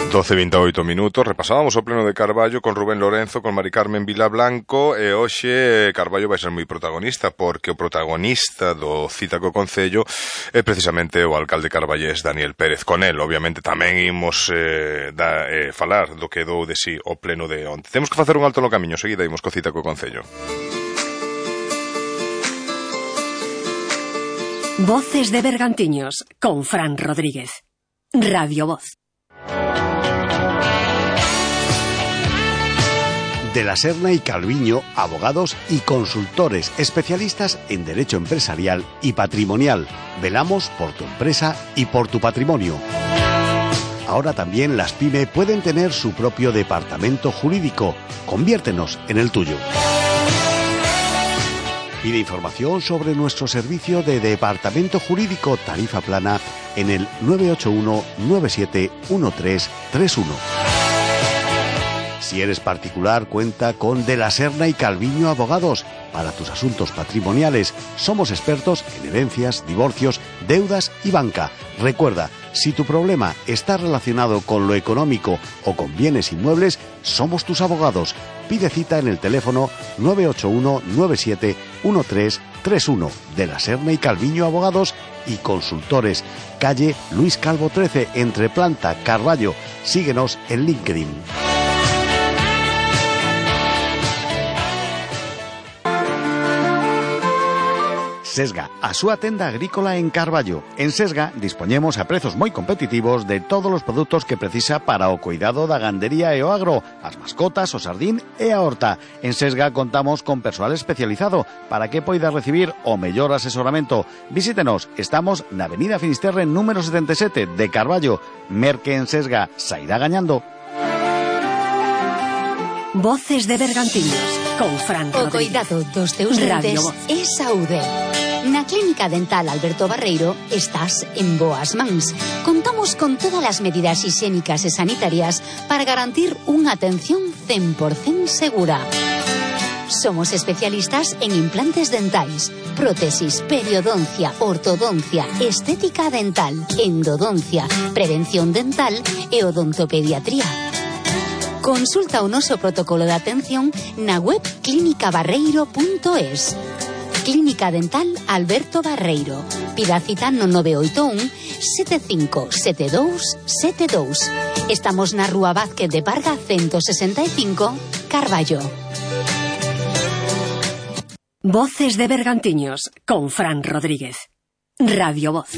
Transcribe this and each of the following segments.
12:28, repasábamos o pleno de Carballo con Rubén Lorenzo, con Mari Carmen Vilablanco, e hoxe Carballo vai ser moi protagonista, porque o protagonista do Cita co Concello é precisamente o alcalde carballés Daniel Pérez. Con el, obviamente, tamén imos falar do que dou de si o pleno de onte. Temos que facer un alto no camiño, seguida imos co Cita co Concello. Voces de Bergantiños, con Fran Rodríguez. Radio Voz. De la Serna y Calviño, abogados y consultores especialistas en derecho empresarial y patrimonial. Velamos por tu empresa y por tu patrimonio. Ahora también las PYME pueden tener su propio departamento jurídico. Conviértenos en el tuyo. Pide información sobre nuestro servicio de departamento jurídico tarifa plana en el 981 97 1331. Si eres particular, cuenta con De la Serna y Calviño Abogados. Para tus asuntos patrimoniales, somos expertos en herencias, divorcios, deudas y banca. Recuerda, si tu problema está relacionado con lo económico o con bienes inmuebles, somos tus abogados. Pide cita en el teléfono 981 97 1331. De la Serna y Calviño Abogados y Consultores. Calle Luis Calvo 13, entre Planta, Carballo. Síguenos en LinkedIn. Sesga, a súa tenda agrícola en Carballo. En Sesga dispoñemos a prezos moi competitivos de todos os produtos que precisa para o cuidado da gandería e o agro, as mascotas, o sardín e a horta. En Sesga contamos con persoal especializado para que poida recibir o mellor asesoramento. Visítenos, estamos na Avenida Finisterre número 77 de Carballo. Merque en Sesga, sairá gañando. Voces de Bergantiños, con Fran Rodríguez. O coidado dos teus dentes é saúde. Na Clínica Dental Alberto Barreiro estás en boas mans. Contamos con todas as medidas higiénicas e sanitarias para garantir unha atención 100% segura. Somos especialistas en implantes dentais, prótesis, periodoncia, ortodoncia, estética dental, endodoncia, prevención dental e odontopediatría. Consulta o noso protocolo de atención na web clinicabarreiro.es. Clínica Dental Alberto Barreiro. Pida cita no 981 757272. Estamos na Rúa Vázquez de Parga 165, Carballo. Voces de Bergantiños, con Fran Rodríguez. Radio Voz.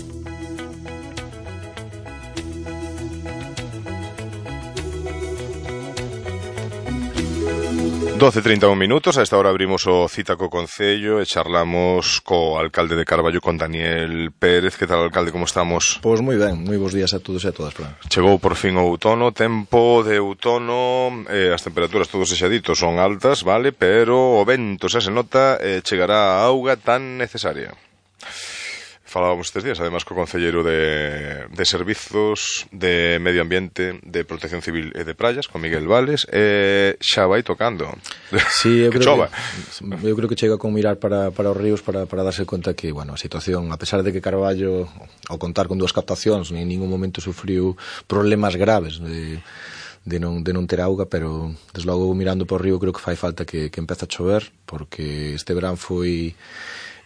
(12:31), a esta hora abrimos o Cita co Concello e charlamos co alcalde de Carballo, con Daniel Pérez. Que tal, alcalde, como estamos? Pois moi ben, moi bons días a todos e a todas, Fran. Chegou por fin o outono, tempo de outono, as temperaturas, todos exaditos, son altas, vale, pero o vento xa se nota, chegará a auga tan necesaria. Falábamos estes días, además, co concelleiro de Servizos, de Medio Ambiente, de Protección Civil e de Praias, con Miguel Vales, xa vai tocando. Sí, eu que creo chova. Eu creo que chega con mirar para os ríos para darse conta que, bueno, a situación, a pesar de que Carballo, ao contar con 2 captacións, en ningún momento sufriu problemas graves de non ter auga, pero desde logo mirando por o río creo que fai falta que empece a chover, porque este verán foi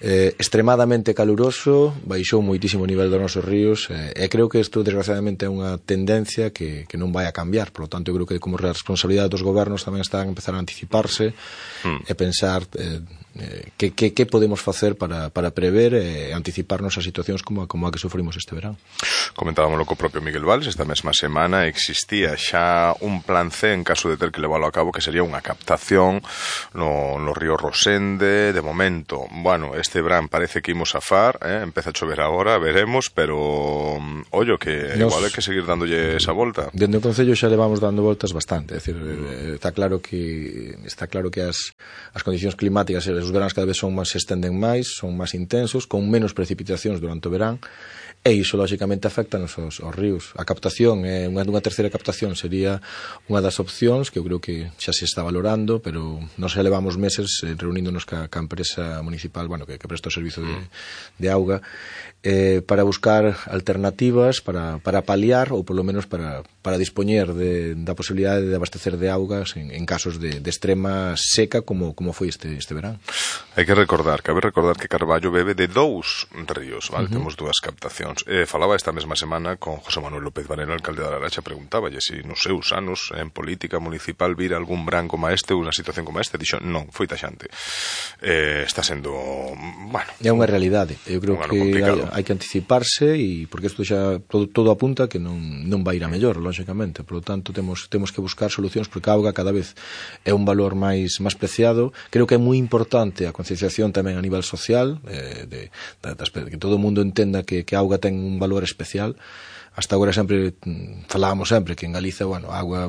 extremadamente caluroso, baixou moitísimo o nivel dos nosos ríos, e creo que isto desgraciadamente é unha tendencia que non vai a cambiar. Por lo tanto, eu creo que como responsabilidade dos gobernos tamén están a empezar a anticiparse e pensar que podemos facer para prever e anticiparnos a situacións como a que sufrimos este verán. Comentábamoslo co propio Miguel Vales, esta mesma semana existía xa un plan C en caso de ter que leválo a cabo, que sería unha captación no río Rosende. De momento, bueno, este verán parece que imos a far, empeza a chover agora, veremos, pero ollo que igual hai que seguir dándolle esa volta. Dende o Concello xa levamos dando voltas bastante, é dicir, está claro que as condicións climáticas os veráns cada vez se estenden máis, son máis intensos, con menos precipitacións durante o verán, e iso lógicamente afecta aos ríos. A captación, unha terceira captación sería unha das opcións que eu creo que xa se está valorando, pero nos levamos meses reuníndonos ca empresa municipal, que presta o servizo de auga, para buscar alternativas para paliar ou polo menos para dispoñer da posibilidade de abastecer de augas en casos de extrema seca como foi este verán. Cabe recordar que Carballo bebe de 2 ríos, vale? Temos 2 captacións. Falaba esta mesma semana con José Manuel López Varela, alcalde da Laracha, preguntáballe se nos seus anos en política municipal vira algún verán como este ou unha situación como esta. Dixo, non, foi taxante. Está sendo, é unha realidade. Eu creo que hai que anticiparse, e porque isto xa todo apunta que non vai ir a mellor, lógicamente. Por lo tanto, temos que buscar solucións, porque a auga cada vez é un valor máis preciado. Creo que é moi importante a concienciación tamén a nivel social, que todo o mundo entenda que a auga ten un valor especial. Hasta agora falábamos sempre que en Galiza, a auga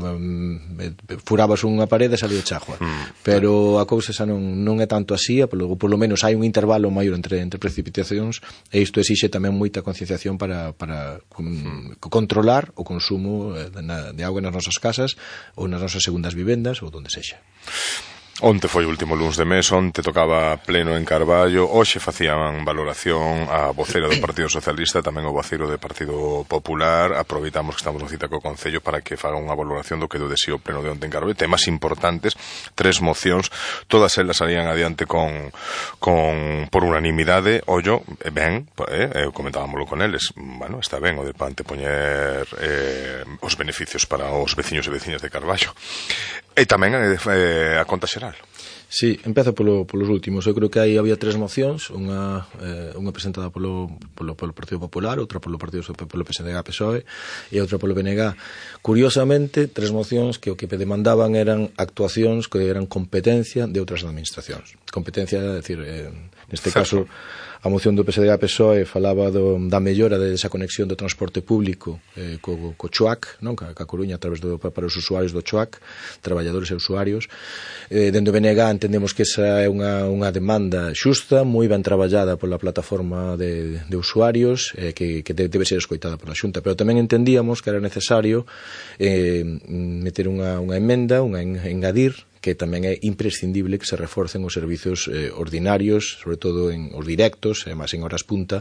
furabas unha parede e salía chagua, pero a cousa xa non é tanto así, por lo menos hai un intervalo maior entre precipitacións, e isto exixe tamén moita concienciación para controlar o consumo de auga nas nosas casas ou nas nosas segundas vivendas ou donde sexa. Onte foi o último luns de mes, onte tocaba pleno en Carballo, hoxe facían valoración a vocera do Partido Socialista, tamén o voceiro do Partido Popular. Aproveitamos que estamos no cita co Concello para que faga unha valoración do que do deseo pleno de onte en Carballo. Temas importantes, 3 mocións, todas elas salían adiante por unanimidade. Ollo, ben, comentábamoslo con eles, está ben o de antepoñer os beneficios para os veciños e veciñas de Carballo. E tamén a conta xeral. Sí, empezo polos últimos. Eu creo que aí había 3 mocións, unha presentada polo Partido Popular, outra polo PSDG-PSOE e outra polo BNG. Curiosamente, 3 mocións que o que demandaban eran actuacións que eran competencia de outras administracións. Competencia, é dicir, neste caso, a moción do PSDG-PSOE falaba da mellora desa conexión do transporte público co CHOAC, ca Coruña, a través para os usuarios do CHOAC, traballadores e usuarios. Dende o BNG entendemos que esa é unha demanda xusta, moi ben traballada pola plataforma de usuarios, que debe ser escoitada pola Xunta, pero tamén entendíamos que era necesario meter unha emenda, engadir, que tamén é imprescindible que se reforcen os servizos ordinarios, sobre todo os directos, e máis en horas punta,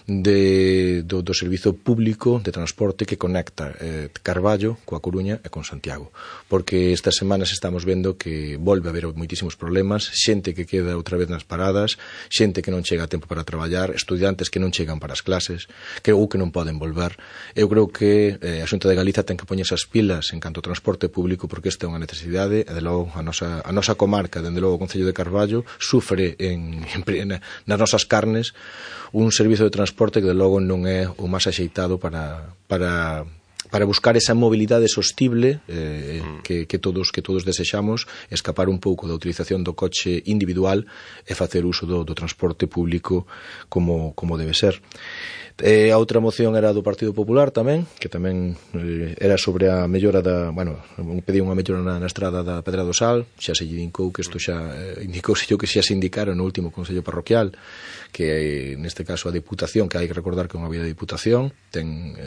do servizo público de transporte que conecta Carballo coa Coruña e con Santiago. Porque estas semanas estamos vendo que volve a haber moitísimos problemas, xente que queda outra vez nas paradas, xente que non chega a tempo para traballar, estudiantes que non chegan para as clases, que non poden volver. Eu creo que a Xunta de Galiza ten que poñerse as pilas en canto ao transporte público, porque esta é unha necesidade, e de logo a nosa comarca, dende logo o Concello de Carballo, sufre nas nosas carnes un servizo de transporte que de logo non é o máis axeitado para buscar esa mobilidade sostible que todos desexamos, escapar un pouco da utilización do coche individual e facer uso do transporte público como debe ser. A outra moción era do Partido Popular tamén, que tamén era sobre a mellora pedía unha mellora na estrada da Pedra do Sal. Xa se indicou que isto xa se indicara no último Consello Parroquial, que neste caso a Diputación, que hai que recordar que é unha vía de Diputación, ten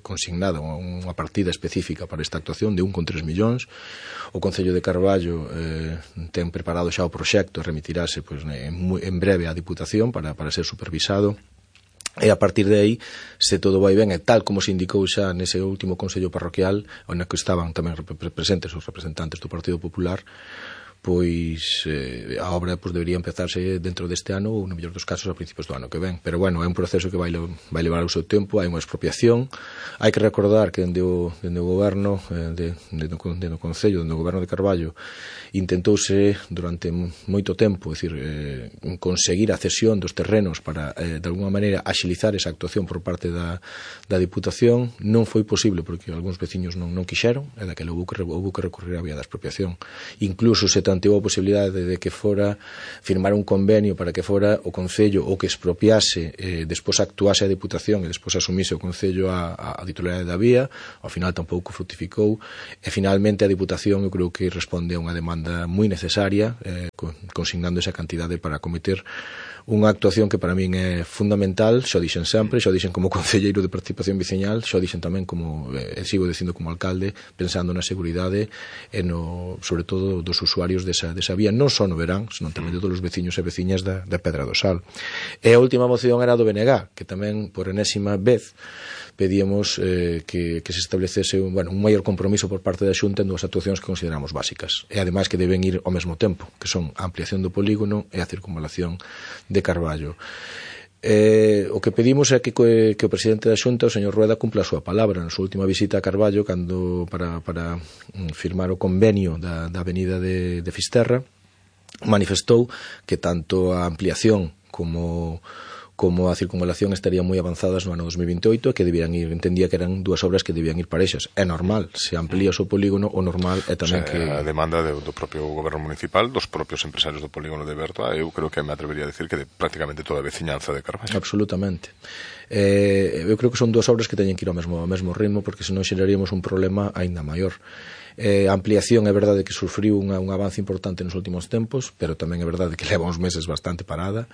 consignada unha partida específica para esta actuación de 1,3 millóns. O Concello de Carballo ten preparado xa o proxecto e remitirase en breve á Diputación para ser supervisado. E a partir de aí, se todo vai ben, e tal como se indicou xa nese último Consello Parroquial, onde que estaban tamén presentes os representantes do Partido Popular, pois a obra debería empezarse dentro deste ano ou, no mellor dos casos, a principios do ano que ven. Pero, é un proceso que vai levar o seu tempo, hai unha expropiación. Hai que recordar que dende o goberno do Concello, dende o goberno de Carballo, intentouse durante moito tempo, conseguir a cesión dos terrenos para, de alguma maneira, axilizar esa actuación por parte da Diputación. Non foi posible porque algúns veciños non quixeron, e daquela houve que recurrir á vía da expropiación. Incluso se planteou a posibilidade de que fora firmar un convenio para que fora o Concello o que expropiase, despois actuase a Deputación e despois asumise o Concello a titularidade da vía. Ao final tampouco frutificou, e finalmente a Deputación eu creo que responde a unha demanda moi necesaria, consignando esa cantidade para cometer unha actuación que para min é fundamental. Xo dixen sempre, xo dixen como concelleiro de participación veciñal, xo dixen tamén como, sigo dicindo como alcalde, pensando na seguridade e sobre todo dos usuarios desa vía, non só no verán, senón tamén de todos os veciños e veciñas da Pedra do Sal. E a última moción era do BNG, que tamén por enésima vez pedíamos que se establecese un maior compromiso por parte da Xunta en dúas actuacións que consideramos básicas, e ademais que deben ir ao mesmo tempo, que son a ampliación do polígono e a circunvalación de Carballo. O que pedimos é que o presidente da Xunta, o señor Rueda, cumpla a súa palabra. Na súa última visita a Carballo, para firmar o convenio da avenida de Fisterra, manifestou que tanto a ampliación como a circunvalación estarían moi avanzadas no ano 2028 e que entendía que eran dúas obras que debían ir parexas. É normal, se amplías o polígono, o normal é tamén que... A demanda do propio goberno municipal, dos propios empresarios do polígono de Bertoa, eu creo que me atrevería a decir que de prácticamente toda a veciñanza de Carballo. Absolutamente. Eu creo que son dúas obras que teñen que ir ao mesmo ritmo, porque senón xeraríamos un problema aínda maior. A ampliación é verdade que sufriu un avance importante nos últimos tempos, pero tamén é verdade que leva uns meses bastante parada,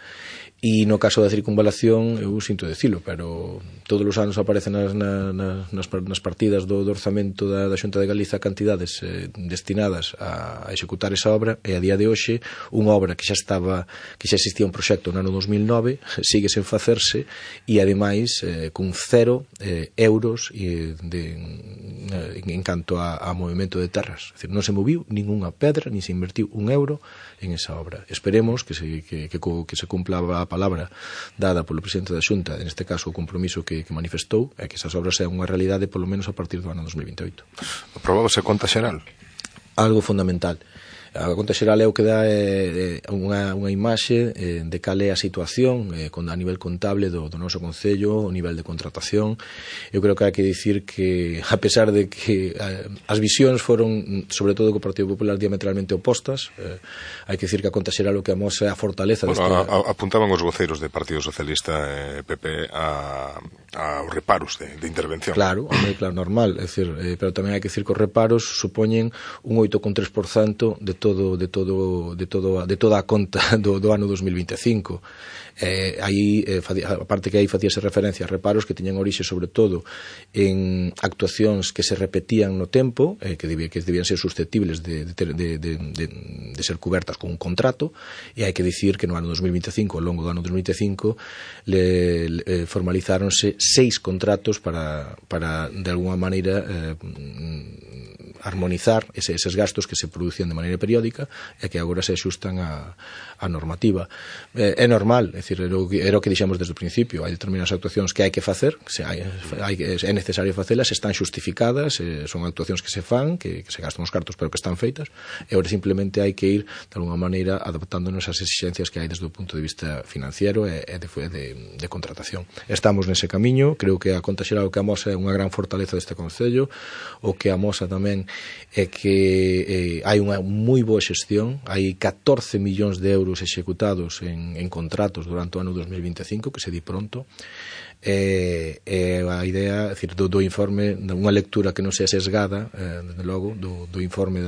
e no caso da circunvalación eu sinto dicilo, pero todos os anos aparecen nas partidas do orzamento da Xunta de Galiza cantidades destinadas a executar esa obra, e a día de hoxe unha obra que xa existía un proxecto no ano 2009 sigue sen facerse, e ademais con 0 euros en canto a movimento de terras. É dicir, non se moviu ninguna pedra, nin se invertiu un euro en esa obra. Esperemos que se cumpla a palabra dada polo presidente da Xunta, en este caso o compromiso que manifestou, é que esas obras sean unha realidade polo menos a partir do ano 2028. Aprobábase a conta xeral? Algo fundamental. A conta xeral é o que dá unha imaxe de cal é a situación a nivel contable do noso concello, o nivel de contratación. Eu creo que hai que dicir que, a pesar de que as visións foron, sobre todo co Partido Popular, diametralmente opostas, hai que dicir que a conta xeral o que amosa é a fortaleza apuntaban os voceiros de Partido Socialista e PP aos reparos de intervención. Claro, normal, é dicir, pero tamén hai que dicir que os reparos supoñen un 8,3% de toda a conta do ano 2025. Aparte que aí facíase referencia a reparos que tiñan orixe sobre todo en actuacións que se repetían no tempo, que debían ser susceptibles de ser cubertas con un contrato, e hai que dicir que no ano 2025, ao longo do ano 2025, formalizáronse 6 contratos para de alguma maneira armonizar eses gastos que se producían de maneira periódica e que agora se axustan a normativa. É normal, é dicir, era o que dixemos desde o principio, hai determinadas actuacións que hai que facer, é necesario facelas, están xustificadas, son actuacións que se fan, que se gastan os cartos pero que están feitas, e agora simplemente hai que ir de alguna maneira adaptándonos ás exigencias que hai desde o punto de vista financiero e de contratación. Estamos nese camiño, creo que a conta xeral o que amosa é unha gran fortaleza deste concello, o que amosa tamén é que hai unha moi boa xestión, hai 14 millóns de euros executados en contratos durante o ano 2025, que se di pronto, a idea, é dicir, do informe, unha lectura que non sea sesgada, desde logo, do informe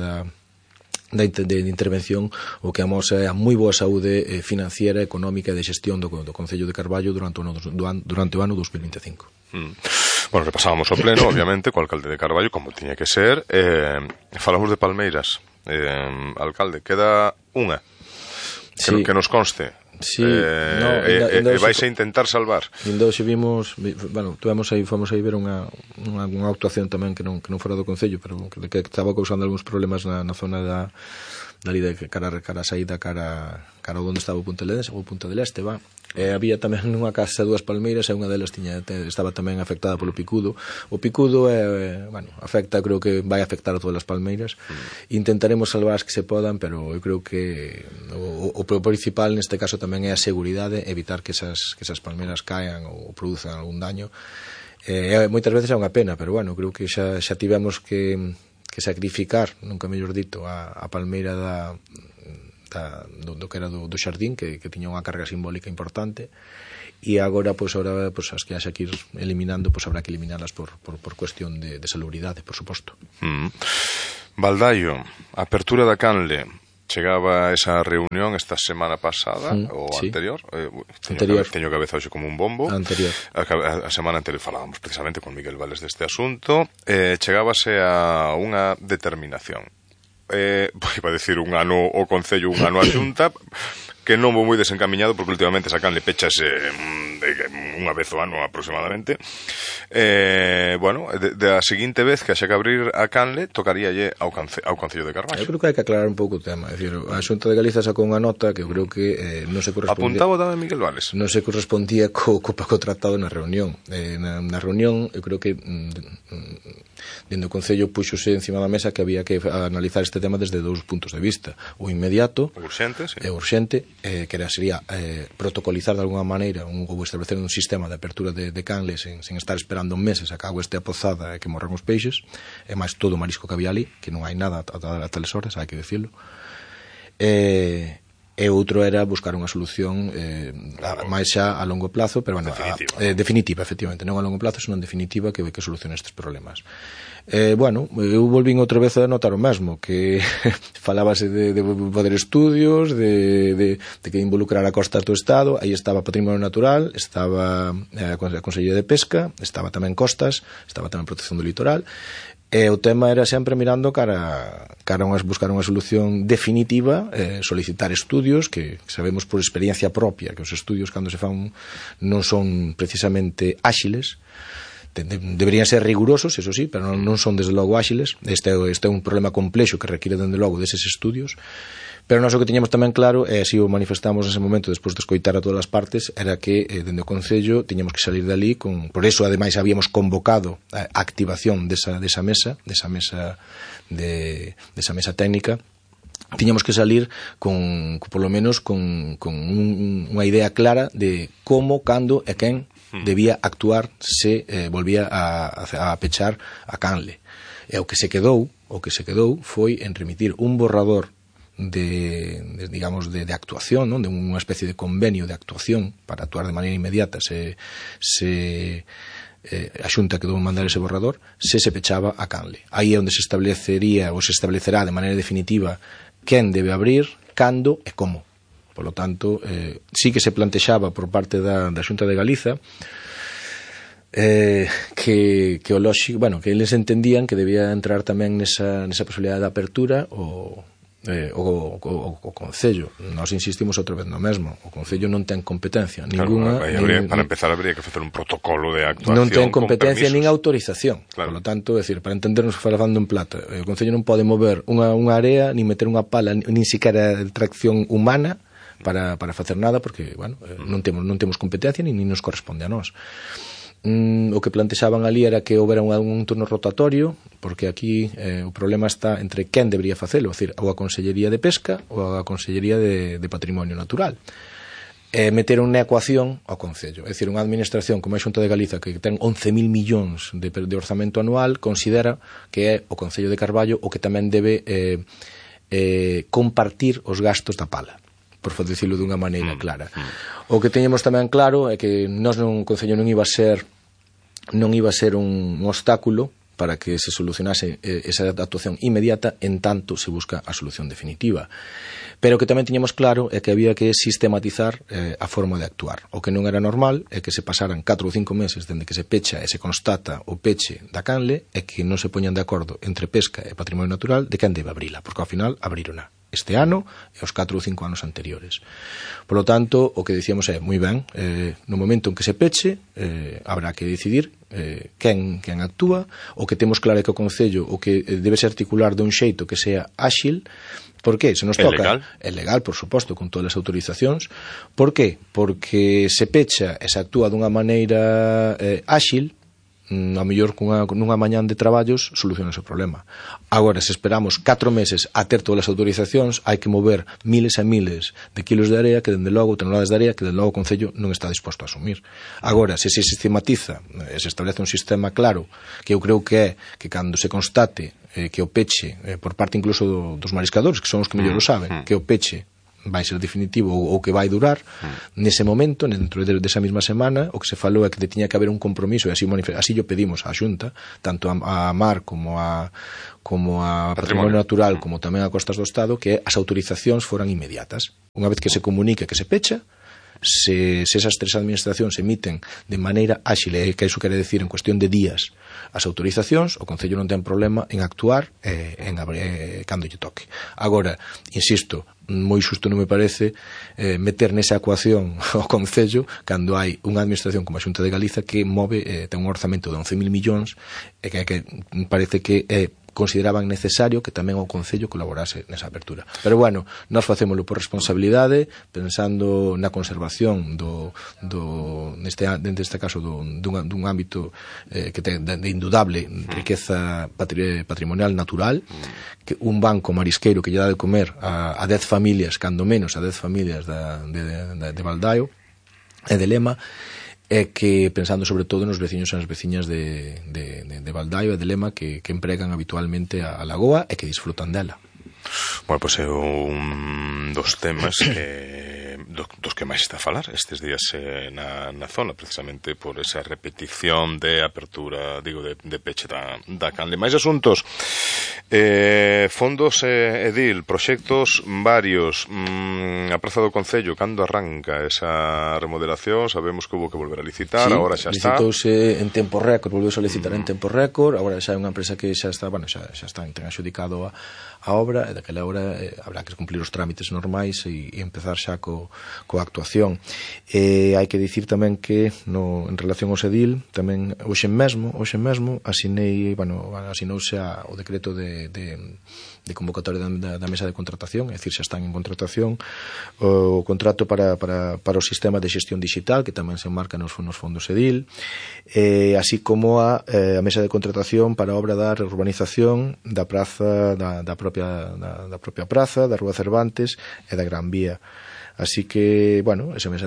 de intervención, o que amosa é a moi boa saúde financiera, económica e de xestión do Concello de Carballo durante o ano 2025. Bueno, repasábamos o pleno, obviamente, co alcalde de Carballo, como tiña que ser. Falamos de Palmeiras. Alcalde, queda unha que nos conste. Sí, vais a intentar salvar. Indo xe vimos, fomos aí ver unha actuación tamén que non fora do Concello, pero que estaba causando algúns problemas na zona dali de cara a saída, cara onde estaba o Punta del Este, había tamén nunha casa 2 palmeiras e unha delas estaba tamén afectada polo picudo. O picudo afecta, creo que vai afectar a todas as palmeiras. Intentaremos salvar as que se podan, pero eu creo que o principal neste caso tamén é a seguridade, evitar que esas palmeiras caen ou produzan algún daño. Moitas veces é unha pena, pero creo que xa tivemos que sacrificar, nunca mellor dito, a palmeira do que era do xardín, que tiña unha carga simbólica importante, e agora, as que haxa que ir eliminando, habrá que eliminarlas por cuestión de salubridade, por suposto. Baldaio, apertura da canle. Chegaba esa reunión esta semana pasada ou sí. Anterior. Teño cabeza hoxe como un bombo. Anterior. A semana anterior falábamos precisamente con Miguel Vales deste asunto. Chegábase a unha determinación. Iba a decir un ano o Concello, un ano a Xunta, que non vou moi desencamiñado porque últimamente esa canle pechase unha vez o ano aproximadamente. A seguinte vez que haxa que abrir a canle tocaríalle ao Concello de Carballo. Eu creo que hai que aclarar un pouco o tema. É dicir, a Xunta de Galiza sacou unha nota que eu creo que non se correspondía. Apuntaba tamén Miguel Vales. Non se correspondía co tratado na reunión. Na reunión, eu creo que dentro do Concello puxose encima da mesa que había que analizar este tema desde dous puntos de vista. O inmediato, urxente, sí. E urxente, que sería protocolizar de alguna maneira ou establecer un sistema de apertura de canles sen estar esperando meses a que a agua este apozada e que morran os peixes, e máis todo o marisco que había ali, que non hai nada a tales horas, hai que decirlo. E outro era buscar unha solución máis xa a longo plazo, pero definitiva, efectivamente, non a longo plazo, senón definitiva, que solucione estes problemas. Eu volvín outra vez a notar o mesmo, que falábase de poder estudios, de que involucrar a costas do Estado. Aí estaba Patrimonio Natural, estaba a Consellería de Pesca, estaba tamén Costas, estaba tamén Protección do Litoral. E o tema era sempre mirando cara a buscar unha solución definitiva, solicitar estudios, que sabemos por experiencia propia que os estudios cando se fan non son precisamente áxiles, deberían ser rigurosos, eso sí, pero non son desde logo áxiles. Este é un problema complexo que requiere desde logo deses estudios. Pero nós o que tiñamos tamén claro, e así o manifestamos nese momento despois de escoitar a todas as partes, era que dende o Concello tiñamos que salir dali por eso ademais habíamos convocado a activación desa mesa técnica. Tiñamos que salir por lo menos con unha idea clara de como, cando e quen debía actuar se volvía a pechar a canle. E o que se quedou foi en remitir un borrador de actuación, non? De unha especie de convenio de actuación para actuar de maneira inmediata se a Xunta quedou en mandar ese borrador, se pechaba a canle. Aí é onde se establecerá de maneira definitiva quen debe abrir, cando e como. Por lo tanto, sí que se plantexaba por parte da Xunta de Galiza que o lóxico, que eles entendían que debía entrar tamén nesa posibilidade de apertura o Concello. Nós insistimos outra vez no mesmo. O Concello non ten competencia ninguna. Para empezar habría que facer un protocolo de actuación. Non ten competencia nin autorización. Claro. Por lo tanto, para entendernos falando en plata, o Concello non pode mover unha área, nin meter unha pala, nin siquiera tracción humana para facer nada, porque, non temos competencia nin nos corresponde a nós. O que plantexaban ali era que houbera un turno rotatorio, porque aquí o problema está entre quen debería facelo, é dicir, ou a Consellería de Pesca ou a Consellería de Patrimonio Natural. Meter unha ecuación ao Concello, é dicir, unha administración como a Xunta de Galiza, que ten 11.000 millóns de orzamento anual, considera que é o Concello de Carballo o que tamén debe compartir os gastos da pala, por dicirlo dunha maneira clara. O que teñemos tamén claro é que nós o Concello non iba a ser un obstáculo para que se solucionase esa actuación inmediata en tanto se busca a solución definitiva. Pero o que tamén tiñamos claro é que había que sistematizar a forma de actuar. O que non era normal é que se pasaran 4 ou 5 meses dende que se pecha e se constata o peche da canle e que non se poñan de acordo entre Pesca e Patrimonio Natural de quen debe abrila, porque ao final abrirona este ano e os 4 ou 5 anos anteriores. Por lo tanto, o que dicíamos é, moi ben, no momento en que se peche, habrá que decidir quen actúa. O que temos claro é que o Concello o que debe se articular dun xeito que sea áxil. Por qué? Se nos toca. É legal, por suposto, con todas as autorizacións. Por qué? Porque se pecha e se actúa dunha maneira áxil, a mellor nunha mañán de traballos soluciona ese problema. Agora, se esperamos 4 meses a ter todas as autorizacións, hai que mover miles e miles de kilos de area que, dende logo, toneladas de area que, dende logo, o Concello non está disposto a asumir. Agora, se se sistematiza, se establece un sistema claro, que eu creo que é que cando se constate que o peche, por parte incluso dos mariscadores, que son os que mellor o saben, que o peche vai ser definitivo ou que vai durar, nese momento, dentro desa mesma semana, o que se falou é que tiña que haber un compromiso, e así o pedimos á Xunta, tanto a Mar como a Patrimonio Natural, como tamén a Costas do Estado, que as autorizacións foran inmediatas. Unha vez que se comunique que se pecha, se esas 3 administracións emiten de maneira áxil, que iso quere decir en cuestión de días, as autorizacións, o Concello non ten problema en actuar cando lle toque. Agora, insisto, moi xusto non me parece meter nesa ecuación o Concello cando hai unha administración como a Xunta de Galiza que move, ten un orzamento de 11.000 millóns e que parece que consideraban necesario que tamén o Concello colaborase nesa apertura. Pero bueno, nós facémolo por responsabilidade, pensando na conservación neste caso dun ámbito que ten de indudable riqueza patrimonial natural, que un banco marisqueiro que lle dá de comer a 10 familias, cando menos a 10 familias de Baldaio e de Lema, é que pensando sobre todo nos veciños e nas veciñas de Baldaio e de Lema que empregan habitualmente a lagoa e que disfrutan dela. Bueno, pois é un dos temas dos que máis está a falar estes días na zona, precisamente por esa repetición de apertura, digo, de peche da canle. Máis asuntos, fondos edil, proxectos varios, a Praza do Concello, cando arranca esa remodelación? Sabemos que houve que volver a licitar, sí, agora xa está. Licitouse en tempo récord, volveu a licitar en tempo récord, agora xa é unha empresa que xa está, ten adxudicado a obra, e daquela hora habrá que cumplir os trámites normais e empezar xa coa actuación. Hai que dicir tamén que en relación ao Sedil, tamén hoxe mesmo asinouse o decreto de convocatoria da mesa de contratación, é dicir, xa están en contratación o contrato para o sistema de xestión digital, que tamén se enmarca nos fondos Sedil, así como a mesa de contratación para a obra da reurbanización da praza, da propia praza, da Rúa Cervantes e da Gran Vía. Así que, bueno, esa mesa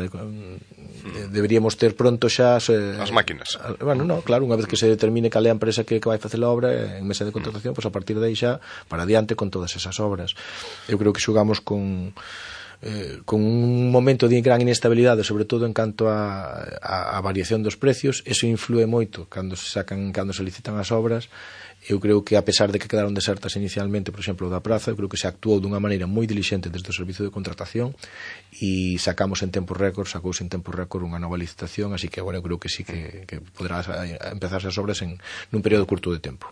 deberíamos ter pronto xa as máquinas. Bueno, no, claro, unha vez que se determine cal é a empresa que vai facer a obra en mesa de contratación, pois a partir de aí xa para adiante con todas esas obras. Eu creo que xogamos con un momento de gran inestabilidade, sobre todo en canto a variación dos precios. Eso influe moito cando se licitan as obras. Eu creo que, a pesar de que quedaron desertas inicialmente, por exemplo, da praza, eu creo que se actuou dunha maneira moi dilixente desde o servicio de contratación e sacouse en tempo récord unha nova licitación, así que agora eu creo que sí que poderá empezarse as obras nun período curto de tempo.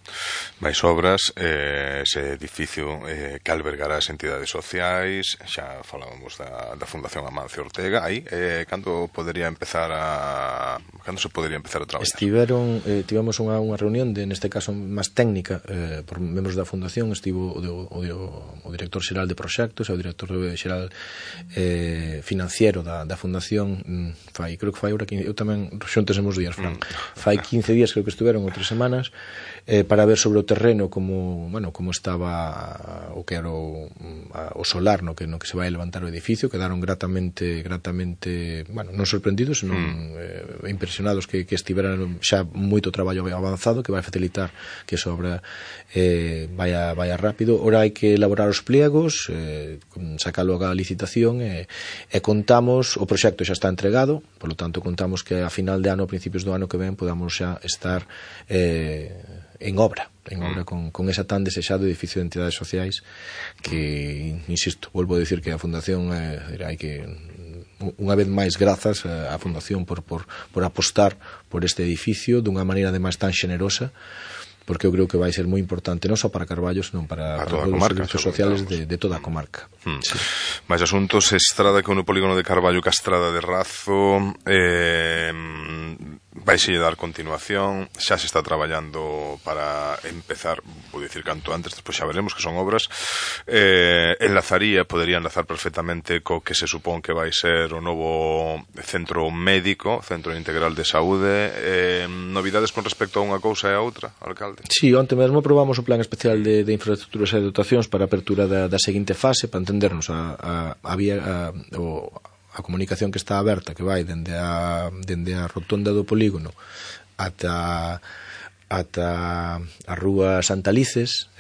Mais obras, ese edificio que albergará as entidades sociais, xa falábamos da Fundación Amancio Ortega, aí, cando se podería empezar a traballar? Tivemos unha reunión, neste caso máis técnica, por membros da Fundación. Estivo o director xeral de proxectos e o director xeral financiero da Fundación, creo que fai ahora, eu tamén xuntesemos días, Fran, fai 15 días creo que estiveron, ou 3 semanas, para ver sobre o terreno como estaba o que era o solar no que se vai levantar o edificio. Quedaron gratamente non sorprendidos, senón impresionados que estiveran xa moito traballo avanzado, que vai facilitar que esa obra vaya rápido. Ora hai que elaborar os pliegos, sacalo a licitación, e contamos, o proxecto xa está entregado, polo tanto contamos que a final de ano, a principios do ano que ven, podamos xa estar en obra con esa tan desexado edificio de entidades sociais que, insisto, volvo a dicir que a Fundación hai que, unha vez máis, grazas á Fundación por apostar por este edificio dunha maneira ademais tan xenerosa, porque eu creo que vai ser moi importante non só para Carballo, senón para todos os servicios sociales de toda a comarca. Sí. Mais asuntos, Estrada con o polígono de Carballo, Castrada de Razo, Vaise dar continuación, xa se está traballando para empezar, vou dicir canto antes, despois xa veremos que son obras, podería enlazar perfectamente co que se supón que vai ser o novo centro médico, Centro Integral de Saúde. Novidades con respecto a unha cousa e a outra, alcalde? Sí, onte mesmo aprobamos o plan especial de infraestructuras e dotacións para a apertura da seguinte fase, para entendernos a comunicación que está aberta, que vai dende a rotonda do polígono ata a rúa Santa Lices,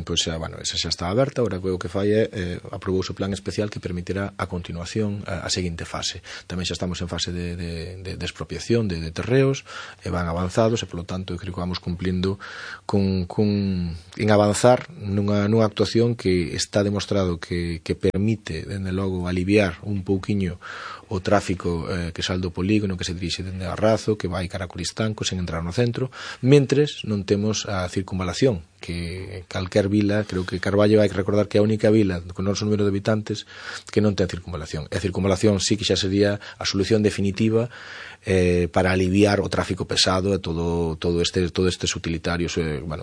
pois xa, bueno, esa xa está aberta. Agora o que fai é aprobouse o plan especial que permitirá a continuación a seguinte fase. Tamén xa estamos en fase de expropiación de terreos, e van avanzados, e polo tanto creo que vamos cumplindo en avanzar nunha actuación que está demostrado que permite, dende logo, aliviar un pouquiño o tráfico que sale do polígono, que se dirixe dende a Razo, que vai cara a Coristanco sen entrar no centro, mentres non temos a circunvalación, que calquer vila, creo que Carballo vai recordar que é a única vila con o noso número de habitantes que non ten circunvalación. E a circunvalación sí que xa sería a solución definitiva para aliviar o tráfico pesado e todo estes utilitarios,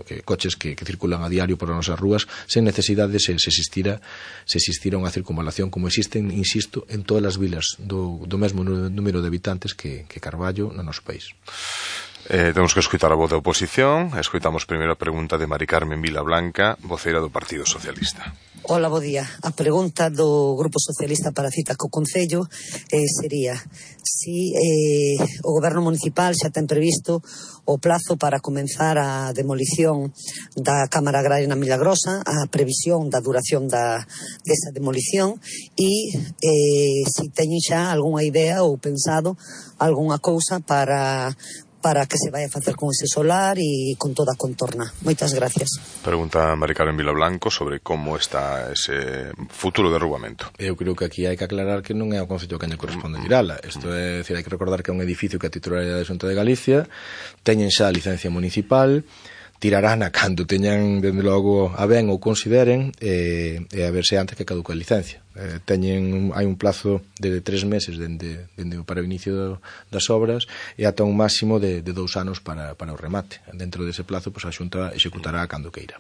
que coches que circulan a diario por as nosas rúas sen necesidade se existira unha circunvalación como existen, insisto, en todas as vilas do mesmo número de habitantes que Carballo no noso país. Temos que escutar a voz da oposición. Escoitamos primeiro a pregunta de Mari Carmen Vilablanca, voceira do Partido Socialista. Hola, bo día. A pregunta do Grupo Socialista para a cita co Concello sería si o Goberno Municipal xa ten previsto o plazo para comenzar a demolición da Cámara Agraria na Milagrosa, a previsión da duración desa demolición, e si teñen xa algunha idea ou pensado algunha cousa para que se vai a facer con ese solar e con toda a contorna. Moitas gracias. Pregunta Mari Carmen Vilablanco sobre como está ese futuro derrubamento. Eu creo que aquí hai que aclarar que non é o Concello que lle corresponde tirala. Isto é decir, hai que recordar que é un edificio que a titularidade da Xunta de Galicia, teñen xa a licencia municipal, tirarán a cando teñan, dende logo, a ben ou consideren, e a verse antes que caduca a licencia. Hai un plazo de 3 meses para o inicio das obras e ata un máximo de 2 anos para o remate. Dentro dese plazo, a Xunta executará cando queira.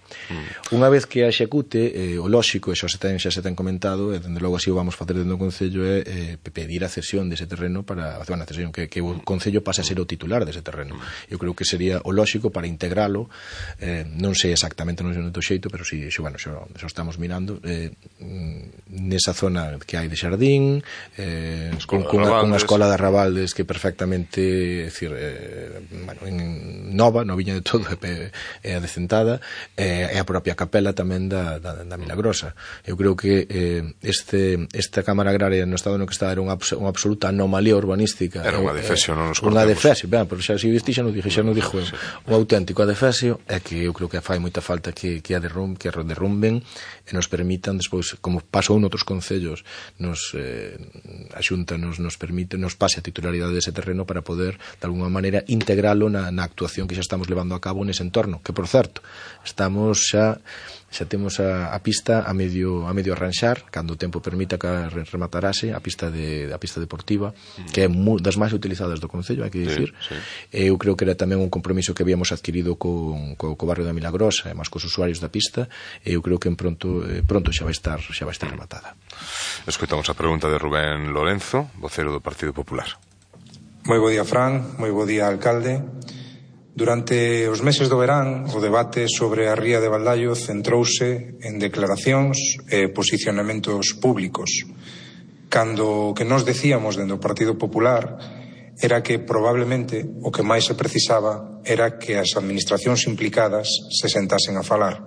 Unha vez que a execute, o lóxico, e xa se ten comentado, e dende logo así o vamos facer dentro do Concello, é pedir a cesión dese terreno para facer unha cesión, que o Concello pase a ser o titular dese terreno. Eu creo que sería o lóxico para integralo, non sei exactamente no xeito, pero si, xa estamos mirando, nesa zona que hai de Xardín, con unha escola de Arrabaldes que perfectamente, noviña de todo, é adecentada, e a propia capela tamén da Milagrosa. Eu creo que esta Cámara Agraria no estado no que está era unha absoluta anomalía urbanística. Era unha adefesio, non nos cortemos. Unha adefesio, pero xa se viste, xa non dixo un auténtico adefesio, é que eu creo que fai moita falta que a derrumben e nos permitan despois, como pasou noutros concellos, a Xunta nos pase a titularidade dese terreno para poder, de alguma maneira, integralo na actuación que xa estamos levando a cabo nese entorno, que, por certo, estamos xa temos a pista a medio arranxar, cando o tempo permita que rematarase a pista deportiva, que é das máis utilizadas do Concello, hai que dicir. Eu creo que era tamén un compromiso que habíamos adquirido co barrio da Milagrosa e máis cos usuarios da pista, e eu creo que pronto xa vai estar rematada. Escoitamos a pregunta de Rubén Lorenzo, vocero do Partido Popular. Moi bo día, Fran, moi bo día, alcalde. Durante os meses do verán, o debate sobre a ría de Baldaio centrouse en declaracións e posicionamentos públicos, cando o que nos decíamos dentro do Partido Popular era que probablemente o que máis se precisaba era que as administracións implicadas se sentasen a falar.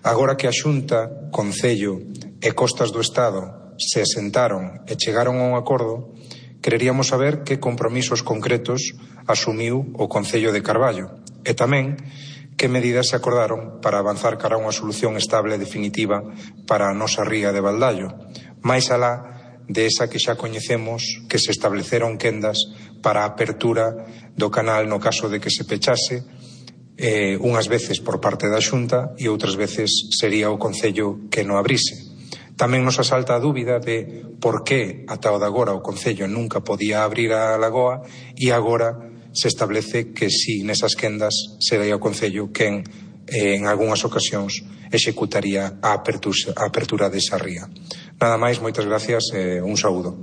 Agora que a Xunta, Concello e Costas do Estado se sentaron e chegaron a un acordo, quereríamos saber que compromisos concretos asumiu o Concello de Carballo e tamén que medidas se acordaron para avanzar cara a unha solución estable e definitiva para a nosa ría de Baldaio, máis alá de esa que xa coñecemos que se estableceron quendas para a apertura do canal no caso de que se pechase, unhas veces por parte da Xunta e outras veces sería o Concello que non abrise. Tamén nos asalta a dúbida de por que ata o de agora o Concello nunca podía abrir a lagoa e agora se establece que si nesas quendas será o Concello quen en algunhas ocasións executaría a apertura desa ría. Nada máis, moitas gracias e un saúdo.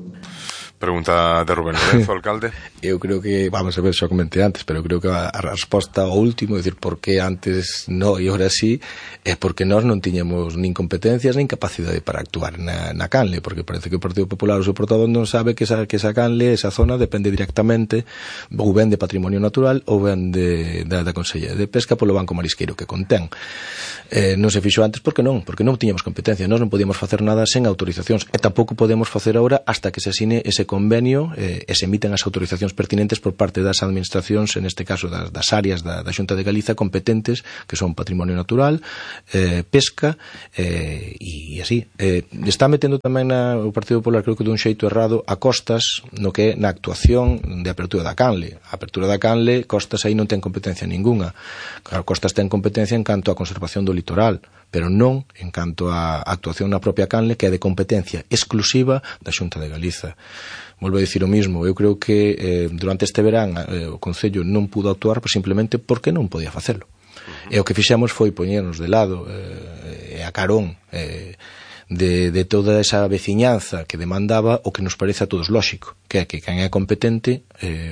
Pregunta de Rubén Lorenzo, alcalde. Eu creo que, vamos a ver, xa comentei antes, pero creo que a resposta ao último, é dicir, por que antes no e ahora sí, é porque nós non tiñamos nin competencias nin capacidade para actuar na canle, porque parece que o Partido Popular, o seu portavoz, non sabe que esa canle, esa zona, depende directamente ou ben de patrimonio natural ou ben da Consellería de Pesca polo Banco Marisqueiro que contén. Non se fixo antes porque non tiñamos competencia, nós non podíamos facer nada sen autorizacións e tampouco podemos facer agora hasta que se asine ese convenio e se emiten as autorizacións pertinentes por parte das administracións, en este caso das áreas da Xunta de Galiza competentes, que son patrimonio natural, pesca e así. Está metendo tamén o Partido Popular, creo que dun xeito errado, a Costas no que é na actuación de apertura da canle. A apertura da canle, Costas aí non ten competencia ninguna. Claro, Costas ten competencia en canto a conservación do litoral, pero non en canto a actuación na propia canle, que é de competencia exclusiva da Xunta de Galiza. Volvo a dicir o mismo, eu creo que durante este verán o Concello non pudo actuar simplemente porque non podía facelo. E o que fixemos foi poñernos de lado e a carón de toda esa veciñanza que demandaba o que nos parece a todos lóxico, que é que quen é competente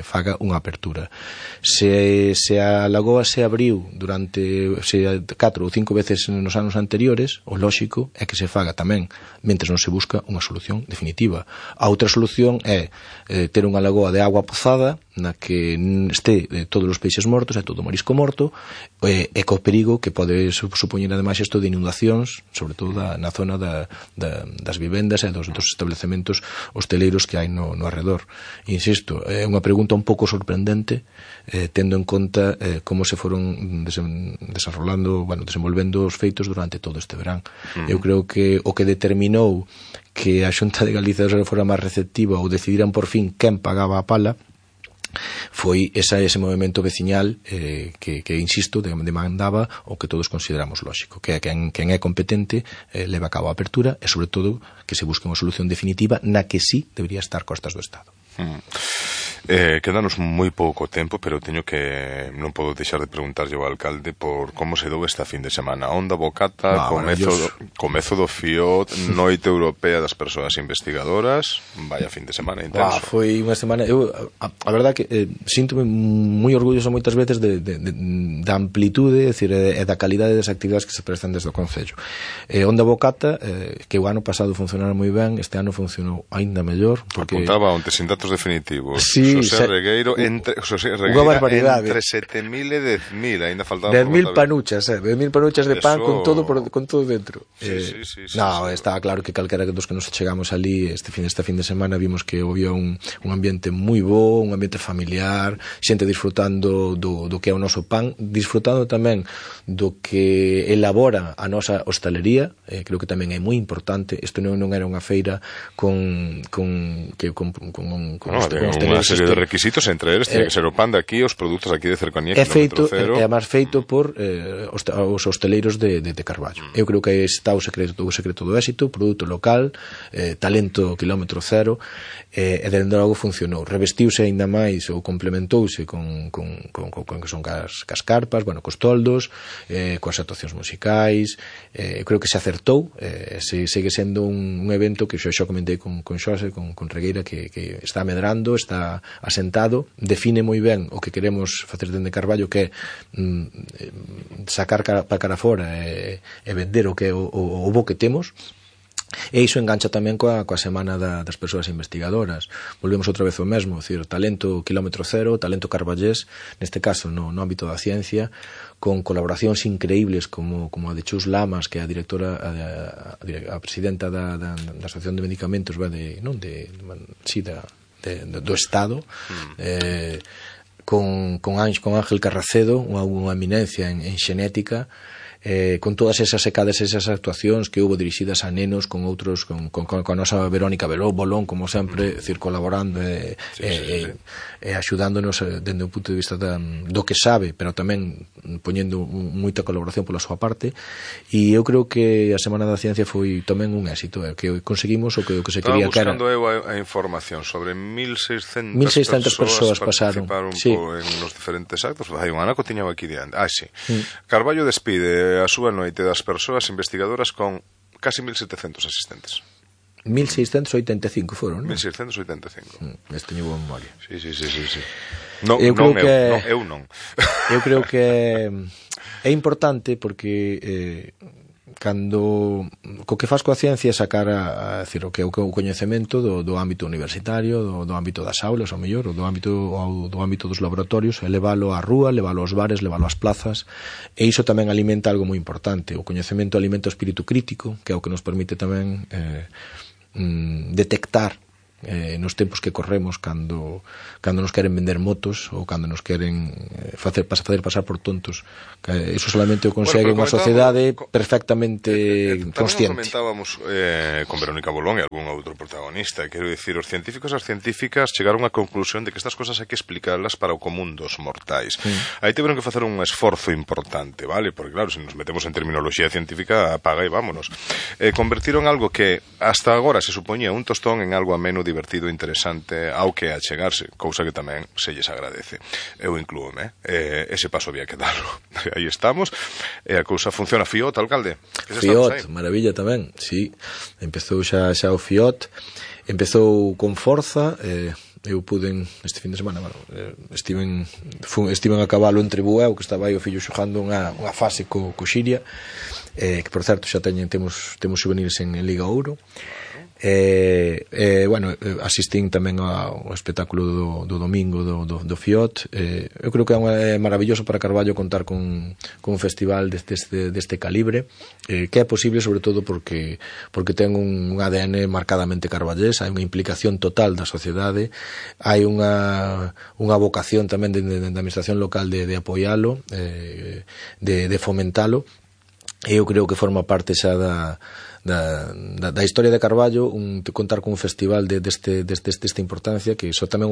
faga unha apertura. Se a lagoa se abriu durante 4 ou 5 veces nos anos anteriores, o lóxico é que se faga tamén, mentres non se busca unha solución definitiva. A outra solución é ter unha lagoa de agua pozada na que este todos os peixes mortos e todo o marisco morto e co perigo que pode supoñer ademais isto de inundacións, sobre todo na zona das vivendas e dos establecementos hosteleiros que hai no arredor. Insisto, é unha pregunta un pouco sorprendente tendo en conta como se foron desenvolvendo os feitos durante todo este verán. Eu creo que o que determinou que a Xunta de Galiza fora máis receptiva ou decidiran por fin quen pagaba a pala foi ese movimento veciñal que insisto, demandaba o que todos consideramos lóxico, que é quen é competente leva a cabo a apertura e, sobre todo, que se busque unha solución definitiva na que sí debería estar Costas do Estado. Quedanos moi pouco tempo, pero non podo deixar de preguntarlle ao alcalde por como se dou esta fin de semana. Onda Bocata, comezo do FIOT, Noite Europea das Persoas Investigadoras, vaya fin de semana intenso. Foi unha semana, a verdad que síntome moi orgulloso moitas veces da amplitude, e da calidade das actividades que se prestan desde o Concello. Onda Bocata, que o ano pasado funcionara moi ben, este ano funcionou aínda mellor. Apuntaba onte sin datos definitivos. Sí, Xosé Regueiro entre 7.000 e 10.000, ainda faltaba 10.000 panuchas, 10.000 panuchas de pan con todo dentro. Estaba claro que calquera dos que nos chegamos ali esta fin de semana vimos que había un ambiente moi bo, un ambiente familiar, xente disfrutando do que é o noso pan, disfrutando tamén do que elabora a nosa hostalería. Creo que tamén é moi importante. Isto non era unha feira con unha serie de requisitos, entre eles tiene que ser o pan de aquí, os produtos aquí de cercanía, é feito, é máis feito por os hosteleiros de Carballo. Eu creo que está o secreto do éxito, produto local, talento kilómetro cero, e dende logo funcionou. Revestiuse aínda máis ou complementouse con que son cas carpas, cos toldos, coas actuacións musicais. Eu creo que se acertou, segue sendo un evento que xa comentei con Xosé, con Regueira, que está medrando, está asentado, define moi ben o que queremos facer dende Carballo, que é sacar para cara fora e vender o que é o bo que temos. E iso engancha tamén coa semana das persoas investigadoras. Volvemos outra vez ao mesmo, talento kilómetro cero, talento carballés, neste caso no ámbito da ciencia, con colaboracións increíbles como a de Chus Lamas, que é a directora, a presidenta da Asociación de Medicamentos do Estado, con Ángel Carracedo, unha eminencia en xenética, con todas esas secadas, esas actuacións que houve dirixidas a nenos con outros, con a nosa Verónica Bolón, como sempre, colaborando e axudándonos dende o punto de vista do que sabe, pero tamén poñendo moita colaboración pola súa parte. E eu creo que a Semana da Ciencia foi tamén un éxito, que conseguimos o que se quería, que era... Estaba buscando eu a información sobre 1.600 persoas pasaron en los diferentes actos. Hai un anaco tiña aquí diante. Sí. Carballo despide a súa noite das persoas investigadoras con casi 1.700 asistentes. 1.685 foron, non? 1.685. Teño boa memoria. Sí. Eu creo que é importante porque cando co que faz coa ciencia sacar a decir, o que é o coñecemento do ámbito universitario, do ámbito das aulas, ao mellor, do ámbito dos laboratorios, e leválo á rúa, leválo aos bares, leválo ás plazas, e iso tamén alimenta algo moi importante. O coñecemento alimenta o espírito crítico, que é o que nos permite tamén detectar nos tempos que corremos cando nos queren vender motos ou cando nos queren facer pasar por tontos. Iso solamente o consegue unha sociedade perfectamente consciente. Comentábamos con Verónica Bolón e algún outro protagonista, quero dicir, os científicos e as científicas chegaron á conclusión de que estas cosas hai que explicarlas para o común dos mortais. Aí tiveron que facer un esforzo importante, vale? Porque claro, se nos metemos en terminoloxía científica, apaga e vámonos. Convertiron algo que hasta agora se supoñía un tostón en algo ameno, divertido, interesante, ao que achegarse, cousa que tamén se lles agradece. Eu inclúome, ese paso había que darlo. Aí estamos, e a cousa funciona. Fiot, alcalde? Fiot, maravilla tamén, sí. Empezou xa o Fiot, empezou con forza, eu puden, este fin de semana, estiven a cabalo entre Bueu, que estaba aí o fillo xogando unha fase co Xiria, que por certo xa temos juveniles en Liga Ouro. Asistín tamén ao espectáculo do domingo do Fiot. Eu creo que é maravilloso para Carballo contar con un festival deste calibre, que é posible sobre todo porque ten un ADN marcadamente carballés, hai unha implicación total da sociedade, hai unha vocación tamén da administración local de apoialo, de fomentalo, e eu creo que forma parte xa da historia de Carballo contar con un festival desta importancia, que iso tamén